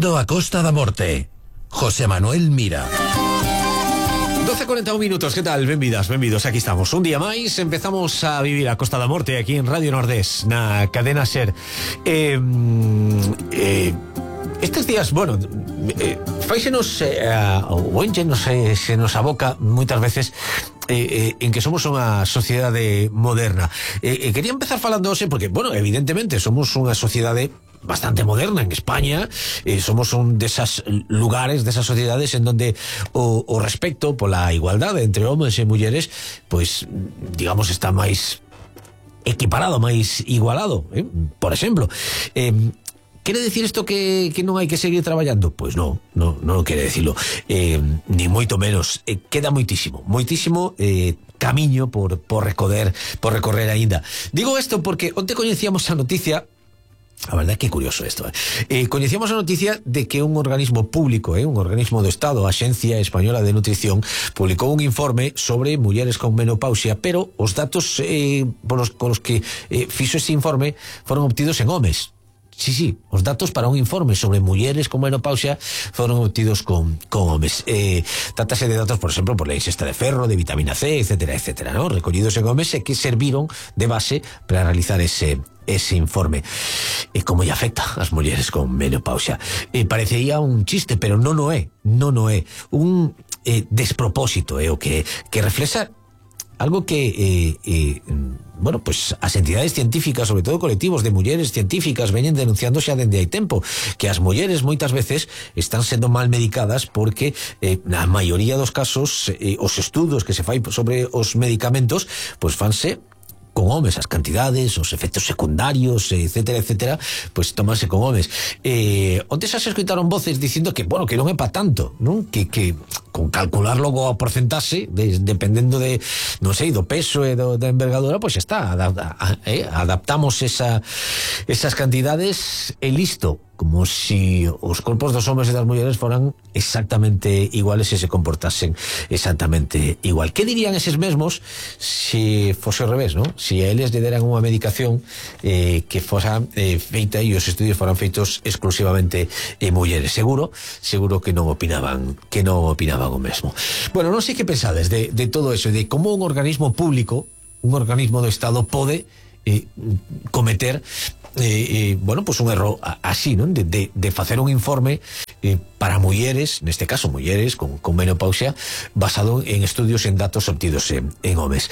Bem-vindo a Costa da Morte. José Manuel Mira. 12:41 minutos, ¿qué tal? Benvidas, aquí estamos. Un día máis, empezamos a vivir a Costa da Morte aquí en Radio Nordés, na cadena SER. Estes días, bueno, fáixenos o enchenos se nos aboca moitas veces en que somos unha sociedade moderna. Quería empezar falando hoxe porque, bueno, evidentemente somos unha sociedade bastante moderna en España, somos un desas lugares, desas sociedades en donde o respecto pola igualdade entre homes e mulleres, pois, digamos, está máis equiparado, máis igualado, por exemplo. ¿Quere decir isto que non hai que seguir traballando? Pois non quere decirlo, ni moito menos. Queda moitísimo camiño por recorrer aínda. Digo isto porque onte coñecíamos a noticia. A verdade é que é curioso isto. Coñecíamos a noticia de que un organismo público, un organismo do Estado, a Axencia Española de Nutrición, publicou un informe sobre mulleres con menopausia, pero os datos con os que fixo ese informe foron obtidos en homes. Sí, os datos para un informe sobre mulleres con menopausia foron obtidos con homes. Trátase de datos, por exemplo, por la ingesta de ferro, de vitamina C, etcétera, ¿no? Recollidos en homes e que serviron de base para realizar ese informe. Como lle afecta ás mulleres con menopausia? Parecería un chiste, pero non o é. Un despropósito, o que reflexa algo que bueno, pues as entidades científicas, sobre todo colectivos de mulleres científicas, veñen denunciando xa dende hai tempo, que as mulleres moitas veces están sendo mal medicadas porque na maioría dos casos os estudos que se fai sobre os medicamentos pois fanse con homes, as cantidades, os efectos secundarios, etcétera, pues tómanse con homes. Onte xa se escoitaron voces dicindo que, bueno, que non é pa tanto, non? Que con calcular logo a porcentaxe, dependendo de, non sei, do peso e da envergadura, pois está, adaptamos esas cantidades e listo. Como si os corpos dos homes e das mulleres foran exactamente iguales e se comportasen exactamente igual. Que dirían eses mesmos se fose ao revés, non? Si a eles lle deran unha medicación que fosa feita e os estudios foran feitos exclusivamente en mulleres. Seguro que non opinaban o mesmo. Bueno, non sei que pensades de todo eso, de como un organismo público, un organismo do Estado pode cometer bueno, pues un erro así, ¿no? De facer un informe para mulleres, neste caso mulleres con menopausia, basado en estudios en datos obtidos en homes.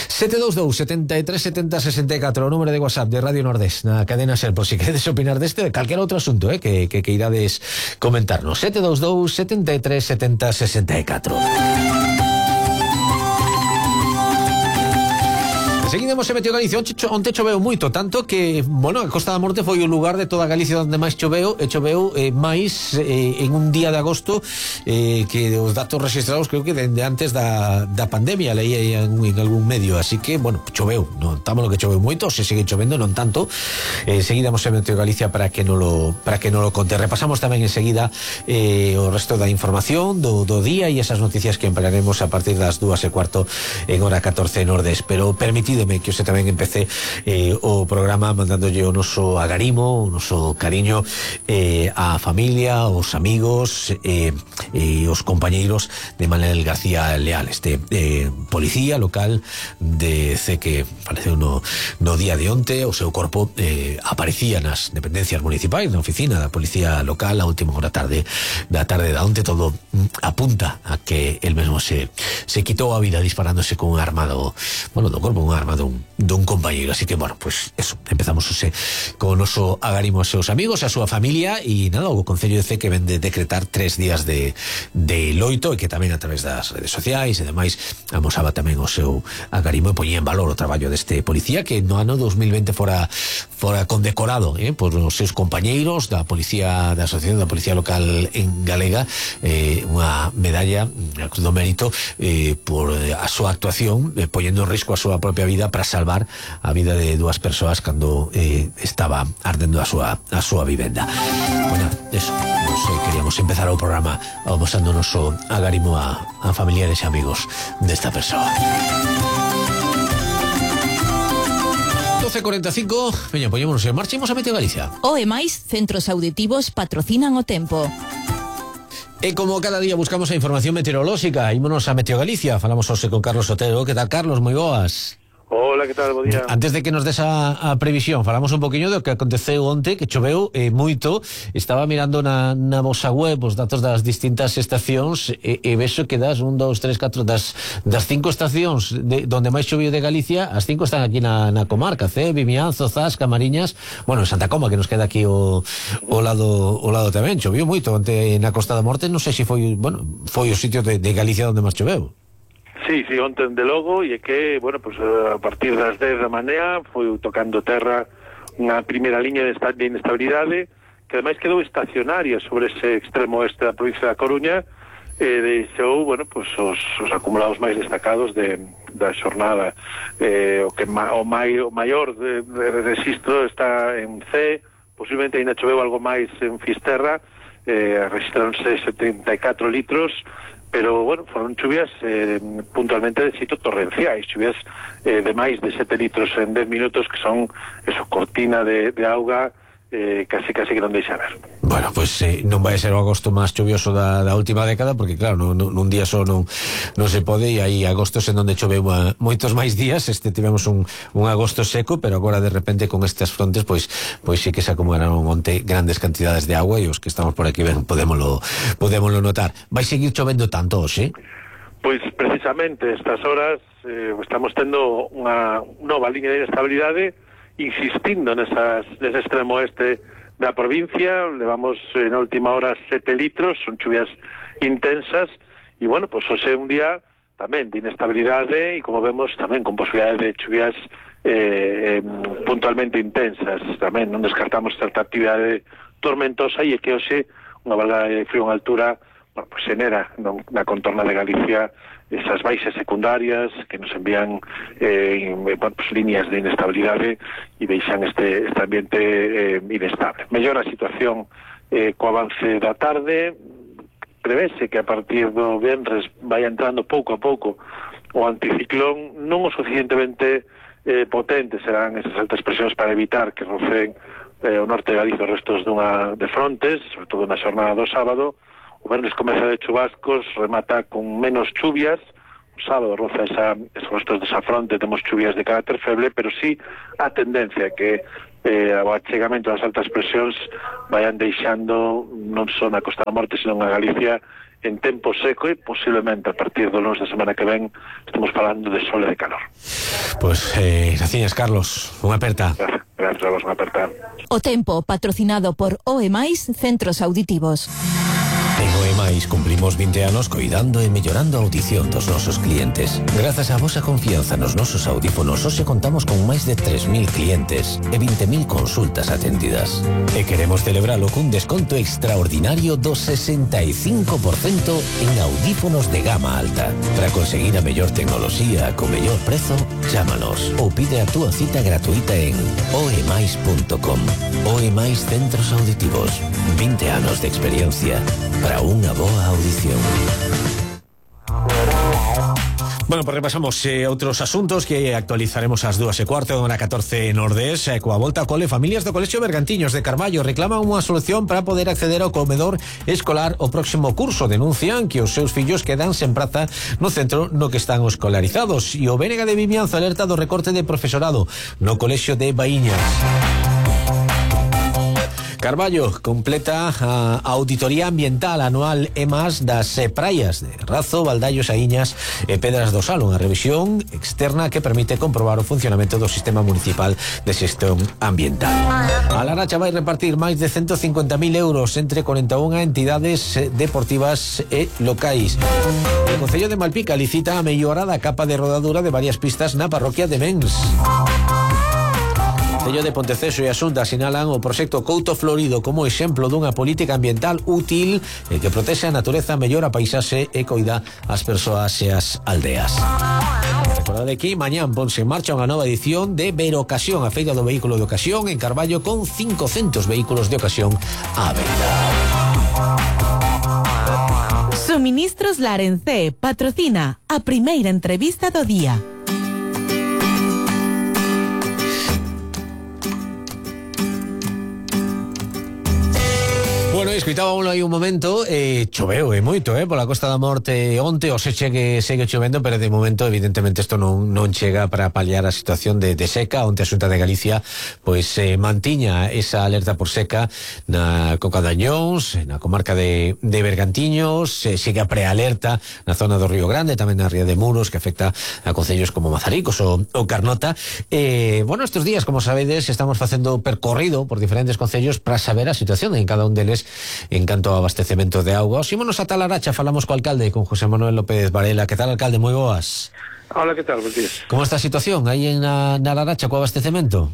722 73 70 64, o número de WhatsApp de Radio Nordés na cadena SER, por si queredes opinar deste de calquera outro asunto que irades comentarnos. 722 73 70 64. Seguidemos se meteu Galicia. Onte choveu moito, tanto que, bueno, a Costa da Morte foi o lugar de toda Galicia onde máis choveu, máis en un día de agosto que os datos registrados creo que dende antes da pandemia, leí en algún medio, así que, bueno, choveu, non estamos lo que choveu moito, se sigue chovendo, non tanto. Seguidemos se meteu Galicia para que non lo conte. Repasamos tamén enseguida o resto da información do día e esas noticias que emplearemos a partir das 2:15 en hora 14 Nordés, pero permitido que hoxe tamén empecé o programa mandándolle o noso agarimo, o noso cariño á familia, aos amigos e os compañeiros de Manuel García Leal, este policía local de C que faleceu no día de onte. O seu corpo aparecía nas dependencias municipais, na oficina da policía local a última hora da tarde da onte. Todo apunta a que el mesmo se quitou a vida disparándose con un arma do corpo, un arma dun compañeiro. Así que, bueno, pues eso, empezamos con o noso agarimo aos seus amigos, a súa familia e nada, o Concello de C que ven de decretar 3 días de loito e que tamén a través das redes sociais e demais amosaba tamén o seu agarimo e poñía en valor o traballo deste policía que no ano 2020 fora condecorado por os seus compañeiros da policía, da Asociación da Policía Local en Galega, unha medalla do mérito por a súa actuación, poñendo en risco a súa propia vida para salvar a vida de dúas persoas cando estaba ardendo a súa vivenda. Bueno, eso, queríamos empezar o programa amosando o noso agarimo a familiares e amigos desta persoa. 12:45, veña, poñémonos en marcha, imos a Meteo Galicia. O e máis, centros auditivos patrocinan o tempo. E como cada día buscamos a información meteorolóxica, ímonos a Meteo Galicia, falamos hoxe con Carlos Otero. Que tal, Carlos? Moi boas. Hola, que tal? Bo día. Antes de que nos des a previsión, falamos un poquinho do que aconteceu onte, que choveu moito. Estaba mirando na vosa web os datos das distintas estacións e vexo que das 1, 2, 3, 4 das 5 estacións donde máis choveu de Galicia, as 5 están aquí na comarca, Vimianzo, Zas, Camariñas, bueno, en Santa Coma, que nos queda aquí o lado tamén. Choveu moito onte na Costa da Morte, non sei se foi o sitio de Galicia onde máis choveu. Sí, onte de logo, e é que, bueno, pues a partir das 10 da mañá foi tocando terra unha primeira liña de inestabilidade que ademais quedou estacionaria sobre ese extremo oeste da provincia da Coruña e deixou, bueno, pues os acumulados máis destacados da xornada. O maior de registro está en C, posiblemente ainda choveu algo máis en Fisterra, registraronse 74 litros, pero, bueno, foron chuvias puntualmente de xeito torrenciais, chuvias de máis de 7 litros en 10 minutos, que son eso, cortina de auga, casi que non deixa ver. Bueno, pues non vai ser o agosto máis chuvioso da última década, porque claro, nun día só non se pode, e hai agostos en onde choveu moitos máis días. Tivemos un agosto seco, pero agora de repente con estas frontes pois sí que se acumularon onte grandes cantidades de agua, e os que estamos por aquí podémolo notar. Vai seguir chovendo tanto hoxe? Pois precisamente estas horas estamos tendo unha nova liña de inestabilidade insistindo nese extremo oeste da provincia. Levamos na última hora 7 litros, son chuvias intensas, e bueno, pues hoxe é un día tamén de inestabilidade, e como vemos tamén con posibilidade de chuvias puntualmente intensas. Tamén non descartamos certa actividade tormentosa, e é que hoxe unha vaga de frío en altura, bueno, pues xenera na contorna de Galicia esas baixas secundarias que nos envían líneas de inestabilidade e deixan este ambiente inestable. Mellora a situación co avance da tarde. Prevese que a partir do venres vai entrando pouco a pouco o anticiclón, non o suficientemente potente serán esas altas presións para evitar que rocen o norte de Galicia os restos de frontes, sobre todo na xornada do sábado. O venres comeza de chubascos, remata con menos chuvias. O sábado roza esos restos desa fronte, temos chuvias de carácter feble, pero sí a tendencia que o achegamento das altas presións vayan deixando non só na Costa da Morte, senón a Galicia en tempo seco, e posiblemente a partir do lunes da semana que ven estamos falando de sol e de calor. Pois, gracias, Carlos. Unha aperta. Gracias a vos, unha aperta. O tempo, patrocinado por OE+, Centros Auditivos. En OE+ cumplimos 20 anos coidando e mellorando a audición dos nosos clientes. Grazas á vosa confianza nos nosos audífonos, hoxe contamos con máis de 3.000 clientes e 20.000 consultas atendidas. E queremos celebralo cun desconto extraordinario do 65% en audífonos de gama alta. Para conseguir a mellor tecnoloxía co mellor prezo, chámanos ou pide a túa cita gratuita en oemais.com. OE+ Centros Auditivos. 20 anos de experiencia para unha boa audición. Bueno, pues repasamos outros asuntos que actualizaremos ás 2:15, na 14 Nordés. Coa volta ao cole, familias do Colexio Bergantiños de Carballo reclaman unha solución para poder acceder ao comedor escolar o próximo curso. Denuncian que os seus fillos quedan sen praza no centro no que están escolarizados, e o BNG de Vimianzo alerta do recorte de profesorado no Colexio de Baíñas. Carballo completa a auditoría ambiental anual EMAS das praias de Razo, Valdallos, Aíñas e Pedras do Sal, unha revisión externa que permite comprobar o funcionamento do sistema municipal de xestión ambiental. A Laracha vai repartir máis de 150.000 euros entre 41 entidades deportivas e locais. O Concello de Malpica licita a mellora da capa de rodadura de varias pistas na parroquia de Mens. O Concello de Ponteceso e a Xunta sinalan o proxecto Couto Florido como exemplo dunha política ambiental útil e que protexe a natureza, mellora a paisaxe e coida as persoas e as aldeas. Recordade que mañán ponse en marcha unha nova edición de Verocasión, a feira do vehículo de ocasión en Carballo, con 500 vehículos de ocasión á venda. Suministros Larencé patrocina a primeira entrevista do día. escuitábamos aí un momento, choveu moito, pola Costa da Morte onte, o segue chovendo, pero de momento evidentemente isto non chega para paliar a situación de seca. Onte a Xunta de Galicia pois mantiña esa alerta por seca na Coca de Añóns, na comarca de Bergantiños, sigue a prealerta na zona do Río Grande, tamén na Ría de Muros, que afecta a concellos como Mazaricos ou Carnota. Bueno, estes días, como sabedes, estamos facendo percorrido por diferentes concellos para saber a situación en cada un deles en canto ao abastecemento de auga. Xímonos ata Laracha, falamos co alcalde, con José Manuel López Varela. Que tal, alcalde? Moi boas. Hola, que tal? Bos días. Como está a situación aí na Laracha co abastecemento?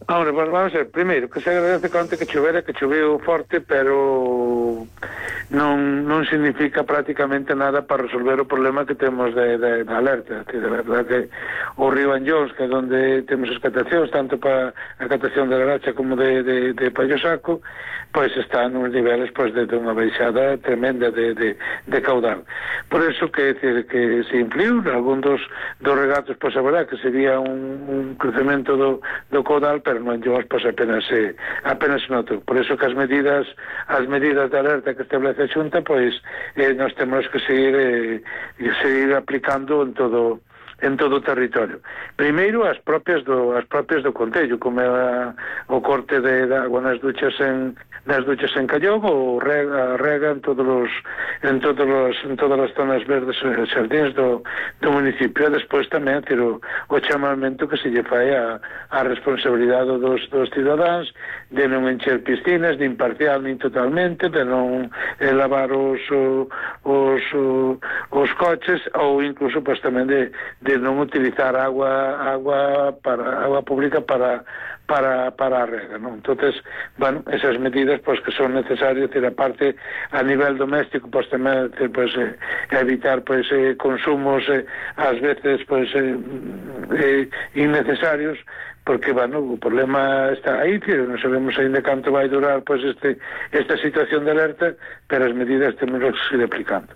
Ahora, bueno, vamos a ver, primeiro, que se agradece que onte que choveu forte, pero non significa prácticamente nada para resolver o problema que temos de alerta. De verdad que o río Anllóns, que é onde temos as catacións, tanto para a catación de Laracha como de Pallosaco, pois está nos niveles pois de unha baixada tremenda de caudal. Por eso que se influiu algún dos regatos, pois a verdad que sería un crecemento do caudal, pero no Anllóns pois apenas se notou. Por eso que as medidas de alerta que establece a Xunta, pois nós temos que seguir aplicando en todo o territorio. Primeiro as propias do concello, como é o corte de agua nas duchas en Callón, ou rega en todas as zonas verdes e xardíns do municipio. E despois tamén o chamamento que se lle fai a responsabilidade dos cidadáns de non encher piscinas, nin parcial nin totalmente, de non lavar os coches, ou incluso pois tamén de non utilizar agua pública para a rega, non? Entonces, bueno, esas medidas pois que son necesarias, aparte a nivel doméstico, pois tamén evitar pois consumos ás veces pois innecesarios, porque, bueno, o problema está aí, non sabemos ainda canto vai durar pois esta situación de alerta, pero as medidas temos que seguir aplicando.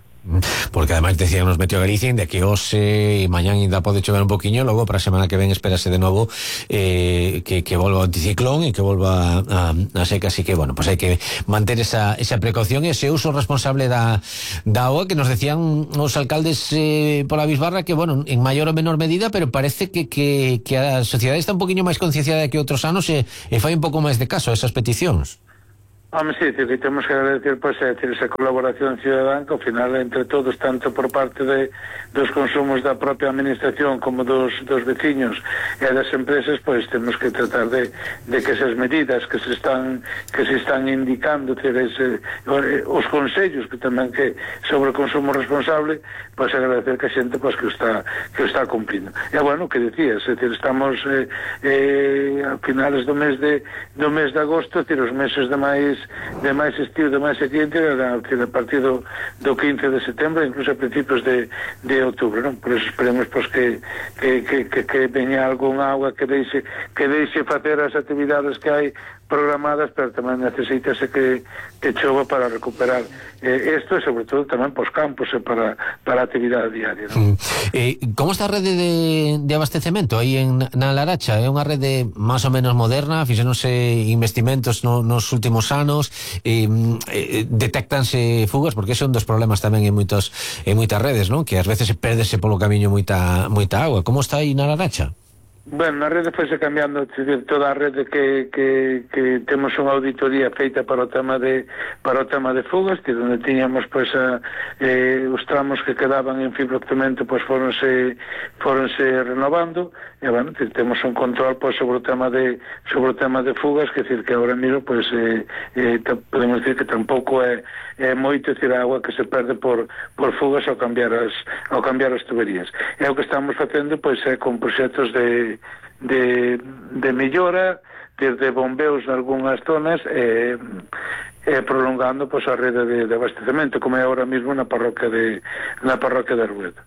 Porque además decían nos Meteo Galicia de que hoxe e mañán ainda pode chover un poquinho, logo para a semana que ven espérase de novo que volva o anticiclón e que volva a seca, así que bueno, pues hai que manter esa precaución e ese uso responsable da auga que nos decían os alcaldes pola bisbarra, que bueno, en maior ou menor medida, pero parece que a sociedade está un poquinho máis concienciada que outros anos e fai un pouco máis de caso a esas peticións. Sí, que temos que agradecer pois esa colaboración ciudadana, que ao final entre todos, tanto por parte dos consumos da propia administración como dos veciños e das empresas, pois temos que tratar de que esas medidas que se están indicando, os consellos que tamén que sobre o consumo responsable, pois agradecer que a xente pois que o está cumplindo. E bueno, que decías, estamos a finales do mes de agosto, os meses de máis estío, de máis sequente, a partir do 15 de setembro, incluso a principios de outubro, non? Por eso esperemos pois que veña algún agua que deixe facer as actividades que hai programadas, pero tamén necesítase que chova para recuperar isto, e sobre todo tamén pos campos e para a actividade diaria, non? Como está a rede de abastecemento aí na Laracha? É unha rede máis ou menos moderna, fixéronse investimentos nos últimos anos, detectanse fugas, porque ese é un dos problemas tamén en moitas redes, non? Que ás veces perdese polo camiño moita auga. Como está aí na Laracha? Bueno, na rede foise cambiando toda a rede que temos unha auditoría feita para o tema de fugas, onde tiñamos pois os tramos que quedaban en fibrocemento pois foronse renovando, e bueno, temos un control pois sobre o tema de fugas, que decir que agora mesmo pois podemos decir que tampouco é moito, decir, a agua que se perde por fugas ao cambiar as tuberías. E o que estamos facendo pois é con proxectos de mellora, desde bombeos en algunhas zonas, prolongando pois a rede de abastecemento, como é ahora mesmo na parroquia de Arguedo.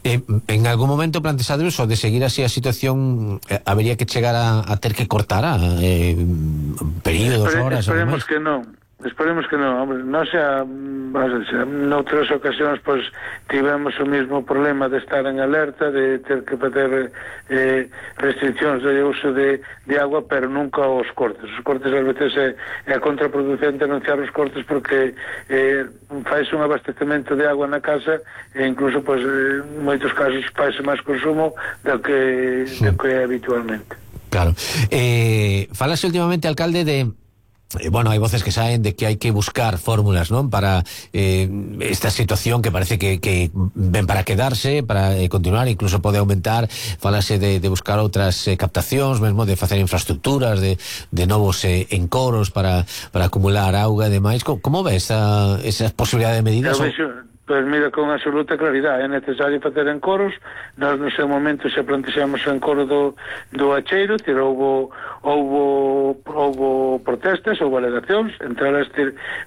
En algún momento plantexado eso de seguir así a situación, habería que chegar a ter que cortar períodos, horas? Esperemos que non. Esperemos que non, hombre, non xa, noutras ocasións pois tivemos o mesmo problema de estar en alerta, de ter que fazer restriccións de uso de agua, pero nunca os cortes. Os cortes ás veces é contraproducente anunciar os cortes porque faise un abastecemento de agua na casa e incluso pois en moitos casos faise máis consumo do que é habitualmente. Claro. Falase últimamente, alcalde, de bueno, hai voces que saen de que hai que buscar fórmulas, non, para esta situación que parece que ven para quedarse, para continuar, incluso pode aumentar. Falase de buscar outras captacións, mesmo de facer infraestructuras, de novos encoros para acumular auga e demais. Como ves esa posibilidade de medidas? Pois mira, con absoluta claridade, é necesario facer encoros. Nós no seu momento xa plantexamos o encoro do Acheiro, houbo protestas, houbo alegacións, entre elas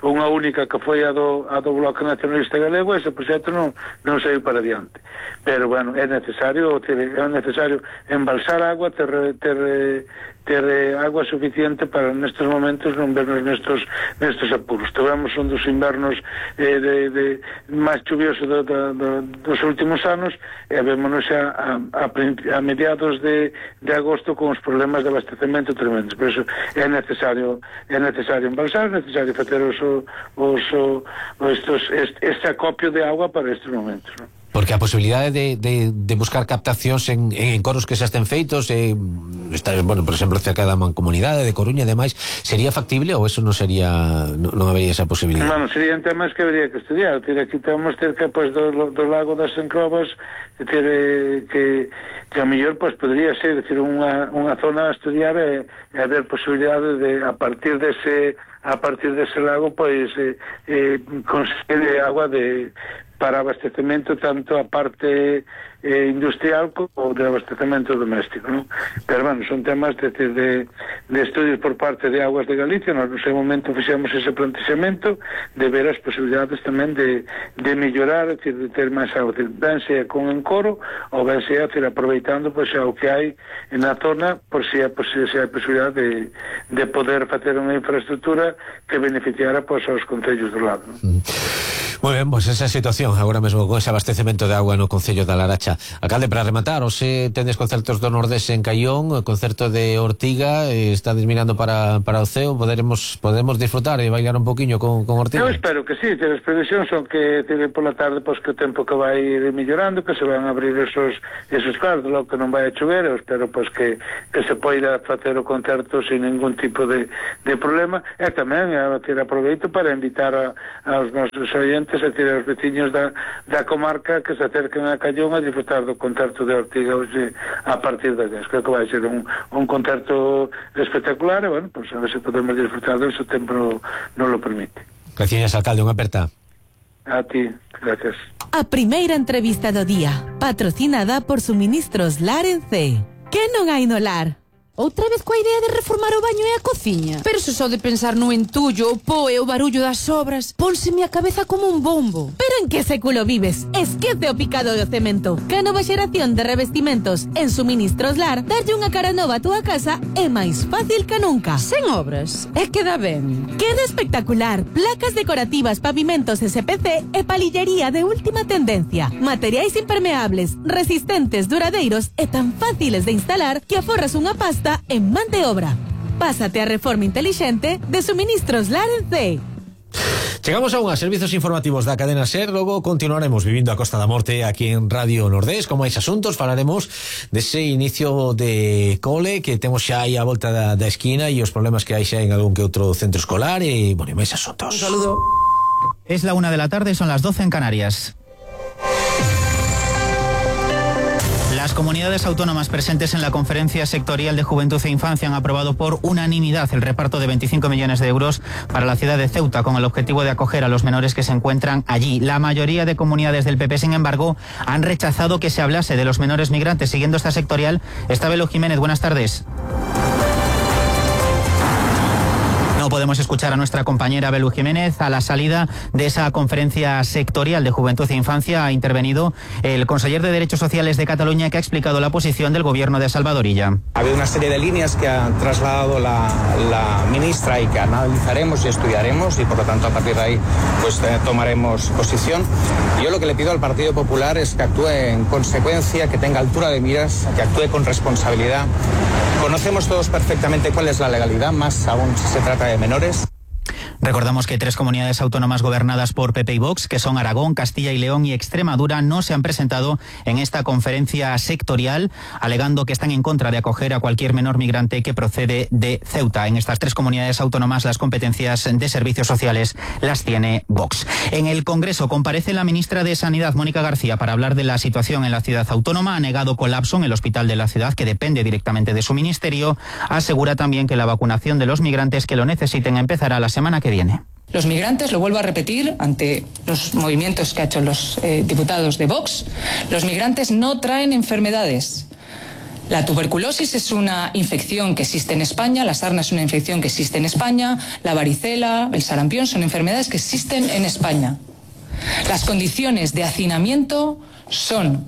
unha única que foi a do Bloque Nacionalista Galego, e ese proxecto non saiu para adiante. Pero, bueno, é necesario embalsar agua, ter agua suficiente para nestes momentos non vernos nestes apuros. Tivemos un dos invernos máis chuvioso dos últimos anos e vémonos xa a mediados de agosto con os problemas de abastecemento tremendos. Por iso é necesario embalsar, é necesario facer este acopio de agua para estes momentos, non? Porque a posibilidade de buscar captacións en encoros que xa estén feitos, bueno, por exemplo, cerca da Mancomunidade de Coruña e demais, sería factible ou eso non habería esa posibilidade? Bueno, serían temas que habría que estudiar. Aquí estamos cerca do lago das Encrobas, que a mellor podría ser unha zona a estudiar e haber posibilidade de, a partir dese lago, conseguir agua para abastecemento tanto a parte industrial como de abastecemento doméstico, ¿no? Pero, bueno, son temas de estudios por parte de Aguas de Galicia. Nós no seu momento fixemos ese plantexamento de ver as posibilidades tamén de mellorar, de ter máis agua, ben sea con encoro ou ben sea aproveitando o que hai na zona, por si hai posibilidade de poder facer unha infraestructura que beneficiara aos concellos do lado, ¿no? Moi ben, pois esa situación agora mesmo con ese abastecemento de agua no concello da Laracha. Alcalde, para rematar, hoxe tendes concertos do Nordés en Caión, o concerto de Ortiga, estades mirando para o ceo, podemos disfrutar e bailar un poquinho con Ortiga? Eu espero que sí, as previsións son que pola tarde, que o tempo que vai ir mellorando, que se van a abrir esos cartos, logo que non vai a chover. Eu espero que se poida facer o concerto sin ningún tipo de problema, e tamén aproveito para invitar aos nosos oyentes, a aos veciños da comarca, que se acerquen a Caión a disfrutar do concerto de Ortiga hoxe a partir das 10. Creo que vai ser un concerto espectacular e, bueno, a ver se podemos disfrutar do, se o tempo non lo permite. Gracias, alcalde, unha aperta. A ti, gracias. A primeira entrevista do día, patrocinada por Suministros Lar en C. Que non hai no lar? Outra vez coa idea de reformar o baño e a cociña? Pero se só de pensar no entullo, o pó e o barullo das obras, pónseme a cabeza como un bombo. Pero en que século vives? Esquece o picado do cemento. Que a nova xeración de revestimentos en Suministros Lar, darlle unha cara nova a túa casa é máis fácil que nunca. Sen obras, é que dá ben. Queda espectacular. Placas decorativas, pavimentos SPC e palillería de última tendencia. Materiais impermeables, resistentes, duradeiros e tan fáciles de instalar que aforras unha pasta en man de obra. Pásate a reforma inteligente de Suministros Lar en C. Chegamos a unhas servizos informativos da cadena SER. Logo continuaremos vivindo a Costa da Morte aquí en Radio Nordés con máis asuntos. Falaremos dese inicio de cole que temos xa aí a volta da esquina e os problemas que hai xa en algún que outro centro escolar e, bueno, máis asuntos. Un saludo. Es la 1 de la tarde, son las 12 en Canarias. Las comunidades autónomas presentes en la Conferencia Sectorial de Juventud e Infancia han aprobado por unanimidad el reparto de 25 millones de euros para la ciudad de Ceuta con el objetivo de acoger a los menores que se encuentran allí. La mayoría de comunidades del PP, sin embargo, han rechazado que se hablase de los menores migrantes. Siguiendo esta sectorial, está Belo Jiménez. Buenas tardes. No podemos podemos escuchar a nuestra compañera Belu Jiménez. A la salida de esa conferencia sectorial de Juventud e Infancia ha intervenido el conseller de Derechos Sociales de Cataluña, que ha explicado la posición del gobierno de Salvador Illa. Ha habido una serie de líneas que ha trasladado la ministra y que analizaremos y estudiaremos, y por lo tanto a partir de ahí pues tomaremos posición. Yo lo que le pido al Partido Popular es que actúe en consecuencia, que tenga altura de miras, que actúe con responsabilidad. Conocemos todos perfectamente cuál es la legalidad, más aún si se trata de menores. Recordamos que 3 comunidades autónomas gobernadas por PP y Vox, que son Aragón, Castilla y León y Extremadura, no se han presentado en esta conferencia sectorial, alegando que están en contra de acoger a cualquier menor migrante que procede de Ceuta. En estas 3 comunidades autónomas las competencias de servicios sociales las tiene Vox. En el Congreso comparece la ministra de Sanidad, Mónica García, para hablar de la situación en la ciudad autónoma. Ha negado colapso en el hospital de la ciudad, que depende directamente de su ministerio. Asegura también que la vacunación de los migrantes que lo necesiten empezará la semana que viene. Los migrantes, lo vuelvo a repetir, ante los movimientos que han hecho los diputados de Vox, los migrantes no traen enfermedades. La tuberculosis es una infección que existe en España, la sarna es una infección que existe en España, la varicela, el sarampión son enfermedades que existen en España. Las condiciones de hacinamiento son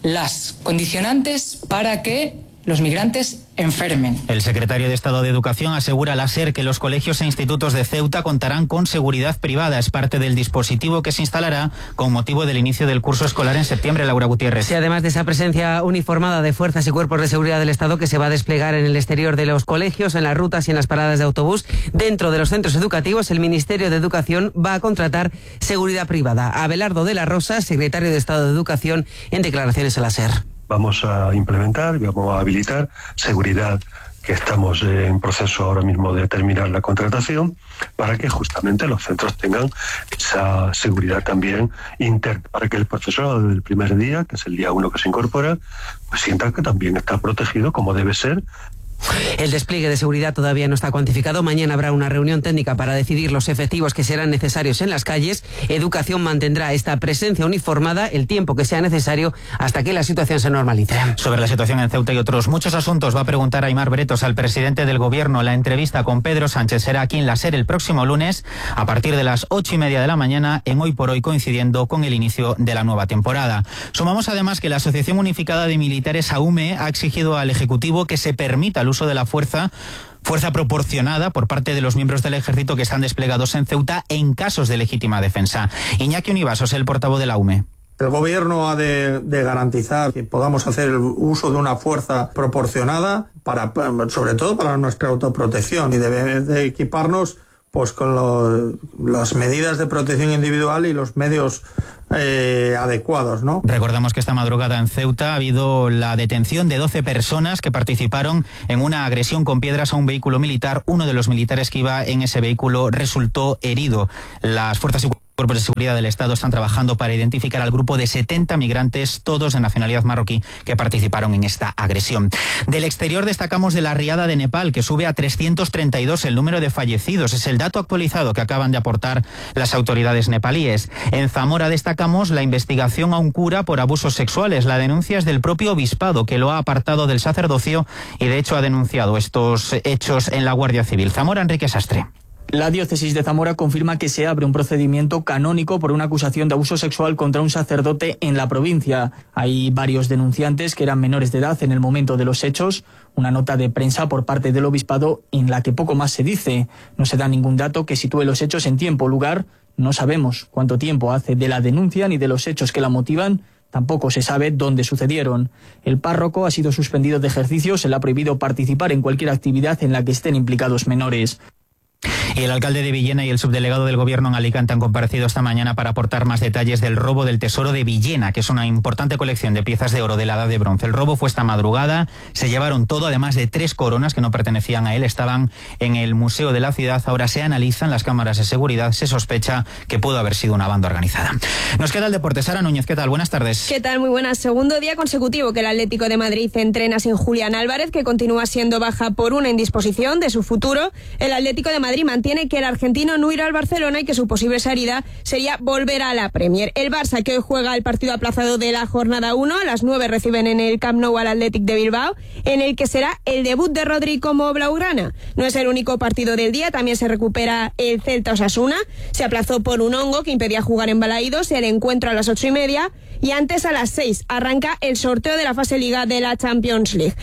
las condicionantes para que los migrantes enfermen. El secretario de Estado de Educación asegura a la SER que los colegios e institutos de Ceuta contarán con seguridad privada. Es parte del dispositivo que se instalará con motivo del inicio del curso escolar en septiembre. Laura Gutiérrez. Sí, además de esa presencia uniformada de fuerzas y cuerpos de seguridad del Estado que se va a desplegar en el exterior de los colegios, en las rutas y en las paradas de autobús, dentro de los centros educativos, el Ministerio de Educación va a contratar seguridad privada. Abelardo de la Rosa, secretario de Estado de Educación, en declaraciones a la SER. Vamos a implementar y vamos a habilitar seguridad, que estamos en proceso ahora mismo de terminar la contratación, para que justamente los centros tengan esa seguridad también interna, para que el profesorado desde el primer día, que es el día 1 que se incorpora, pues sienta que también está protegido como debe ser. El despliegue de seguridad todavía no está cuantificado. Mañana habrá una reunión técnica para decidir los efectivos que serán necesarios en las calles. Educación mantendrá esta presencia uniformada el tiempo que sea necesario hasta que la situación se normalice. Sobre la situación en Ceuta y otros muchos asuntos va a preguntar Aimar Bretos al presidente del Gobierno. La entrevista con Pedro Sánchez será aquí en la SER el próximo lunes a partir de las 8:30 de la mañana, en Hoy por Hoy, coincidiendo con el inicio de la nueva temporada. Sumamos además que la Asociación Unificada de Militares, AUME, ha exigido al Ejecutivo que se permita el uso de la fuerza proporcionada por parte de los miembros del ejército que están desplegados en Ceuta en casos de legítima defensa. Iñaki Univasos, el portavoz de la UME. El Gobierno ha de garantizar que podamos hacer el uso de una fuerza proporcionada, sobre todo para nuestra autoprotección, y debe de equiparnos pues con las medidas de protección individual y los medios adecuados, ¿no? Recordamos que esta madrugada en Ceuta ha habido la detención de 12 personas que participaron en una agresión con piedras a un vehículo militar. Uno de los militares que iba en ese vehículo resultó herido. Las fuerzas y cuerpos de seguridad del Estado están trabajando para identificar al grupo de 70 migrantes, todos de nacionalidad marroquí, que participaron en esta agresión. Del exterior destacamos de la riada de Nepal, que sube a 332 el número de fallecidos. Es el dato actualizado que acaban de aportar las autoridades nepalíes. En Zamora destacamos la investigación a un cura por abusos sexuales. La denuncia es del propio obispado, que lo ha apartado del sacerdocio y de hecho ha denunciado estos hechos en la Guardia Civil. Zamora, Enrique Sastre. La diócesis de Zamora confirma que se abre un procedimiento canónico por una acusación de abuso sexual contra un sacerdote en la provincia. Hay varios denunciantes que eran menores de edad en el momento de los hechos. Una nota de prensa por parte del obispado en la que poco más se dice. No se da ningún dato que sitúe los hechos en tiempo o lugar. No sabemos cuánto tiempo hace de la denuncia ni de los hechos que la motivan. Tampoco se sabe dónde sucedieron. El párroco ha sido suspendido de ejercicio. Se le ha prohibido participar en cualquier actividad en la que estén implicados menores. Y el alcalde de Villena y el subdelegado del Gobierno en Alicante han comparecido esta mañana para aportar más detalles del robo del Tesoro de Villena, que es una importante colección de piezas de oro de la Edad de Bronce. El robo fue esta madrugada, se llevaron todo, además de 3 coronas que no pertenecían a él, estaban en el Museo de la Ciudad. Ahora se analizan las cámaras de seguridad, se sospecha que pudo haber sido una banda organizada. Nos queda el deporte. Sara Núñez, ¿qué tal? Buenas tardes. ¿Qué tal? Muy buenas. Segundo día consecutivo que el Atlético de Madrid entrena sin Julián Álvarez, que continúa siendo baja por una indisposición de su futuro. El Atlético de Madrid Madrid mantiene que el argentino no irá al Barcelona y que su posible salida sería volver a la Premier. El Barça, que hoy juega el partido aplazado de la jornada 1, a las 9 reciben en el Camp Nou al Athletic de Bilbao, en el que será el debut de Rodri como blaugrana. No es el único partido del día, también se recupera el Celta Osasuna, se aplazó por un hongo que impedía jugar en Balaídos, el encuentro a las 8:30, y antes a las 6 arranca el sorteo de la fase Liga de la Champions League.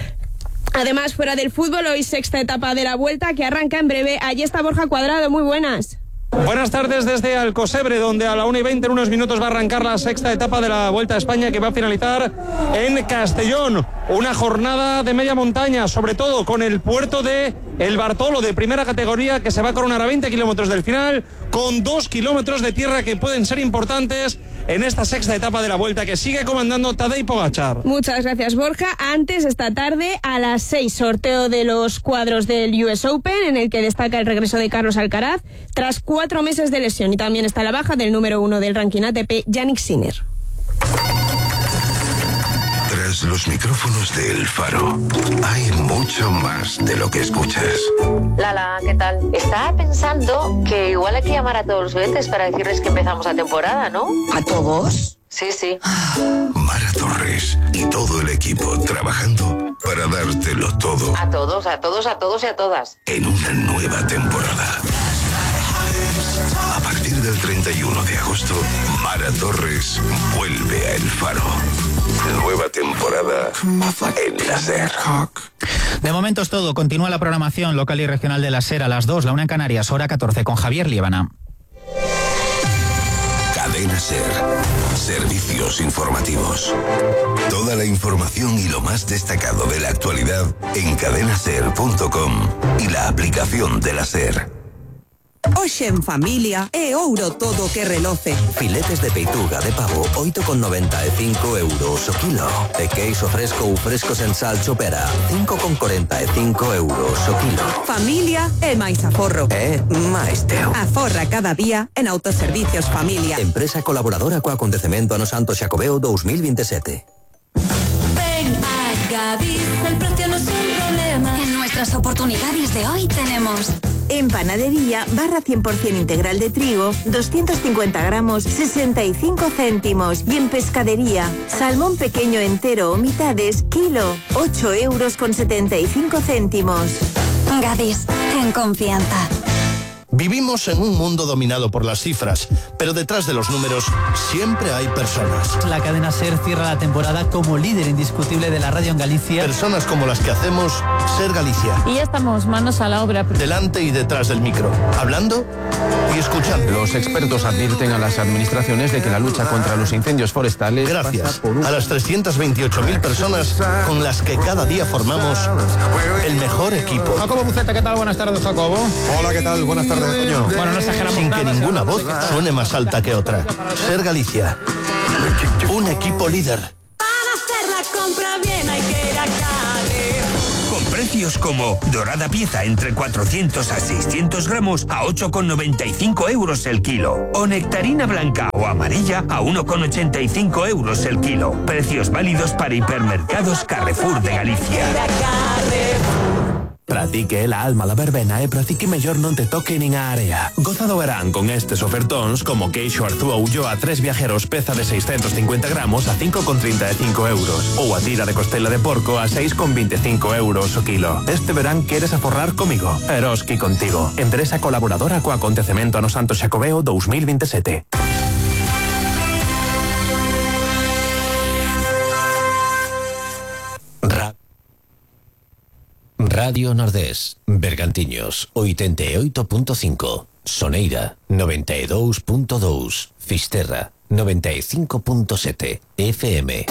Además, fuera del fútbol, hoy sexta etapa de la Vuelta que arranca en breve. Allí está Borja Cuadrado, muy buenas. Buenas tardes desde Alcosebre, donde a la 1:20 en unos minutos va a arrancar la sexta etapa de la Vuelta a España, que va a finalizar en Castellón. Una jornada de media montaña, sobre todo con el puerto de El Bartolo, de primera categoría, que se va a coronar a 20 kilómetros del final, con 2 kilómetros de tierra que pueden ser importantes en esta sexta etapa de la Vuelta, que sigue comandando Tadej Pogačar. Muchas gracias, Borja. Antes, esta tarde, a las 6, sorteo de los cuadros del US Open, en el que destaca el regreso de Carlos Alcaraz, tras 4 meses de lesión. Y también está la baja del número 1 del ranking ATP, Jannik Sinner. Tras los micrófonos de El Faro, hay mucho más de lo que escuchas. Lala, ¿qué tal? Estaba pensando que igual hay que llamar a todos los oyentes para decirles que empezamos la temporada, ¿no? ¿A todos? Sí, sí. Mara Torres y todo el equipo trabajando para dártelo todo. A todos, a todos, a todos y a todas. En una nueva temporada. A partir del 31 de agosto, Mara Torres vuelve a El Faro. Nueva temporada en la SER. De momento es todo. Continúa la programación local y regional de la SER a las 2, la 1 en Canarias, hora 14, con Javier Liébana. Cadena SER. Servicios informativos. Toda la información y lo más destacado de la actualidad en cadenaser.com y la aplicación de la SER. Hoxe en familia é ouro todo que reloce. Filetes de peituga de pavo 8,95 euros o kilo. E queixo fresco ou fresco sen sal chopera 5,45 euros o kilo. Familia é máis aforro. É máis teu. Aforra cada día en Autoservicios Familia. Empresa colaboradora co acontecemento ano Santo Xacobeo 2027. Ven a Gadis, el precio no es un problema. En nuestras oportunidades de hoy tenemos... En panadería, barra 100% integral de trigo, 250 gramos, 65 céntimos. Y en pescadería, salmón pequeño entero o mitades, kilo, 8,75 euros. Gadis, en confianza. Vivimos en un mundo dominado por las cifras, pero detrás de los números siempre hay personas. La cadena SER cierra la temporada como líder indiscutible de la radio en Galicia. Personas como las que hacemos SER Galicia. Y ya estamos manos a la obra. Delante y detrás del micro, hablando y escuchando. Los expertos advierten a las administraciones de que la lucha contra los incendios forestales... Gracias a las 328.000 personas con las que cada día formamos el mejor equipo. Jacobo Buceta, ¿qué tal? Buenas tardes, Jacobo. Hola, ¿qué tal? Buenas tardes. Bueno, no exageramos sin que ninguna voz suene más alta que otra. SER Galicia, un equipo líder. Para hacer la compra bien hay que ir a Cádiz. Con precios como dorada pieza entre 400 a 600 gramos a 8,95 euros el kilo. O nectarina blanca o amarilla a 1,85 euros el kilo. Precios válidos para hipermercados Carrefour de Galicia. Para ti que la alma la verbena e para ti que mellor non te toque nin a area. Goza do verán con estes ofertóns como queixo Arzúa Ulloa a 3 viajeros peza de 650 gramos a 5,35 euros ou a tira de costela de porco a 6,25 euros o kilo. Este verán queres aforrar comigo. Eroski contigo. Empresa colaboradora co acontecemento ano Santo Xacobeo 2027. Radio Nordés, Bergantiños, 88.5, Soneira, 92.2, Fisterra, 95.7, FM.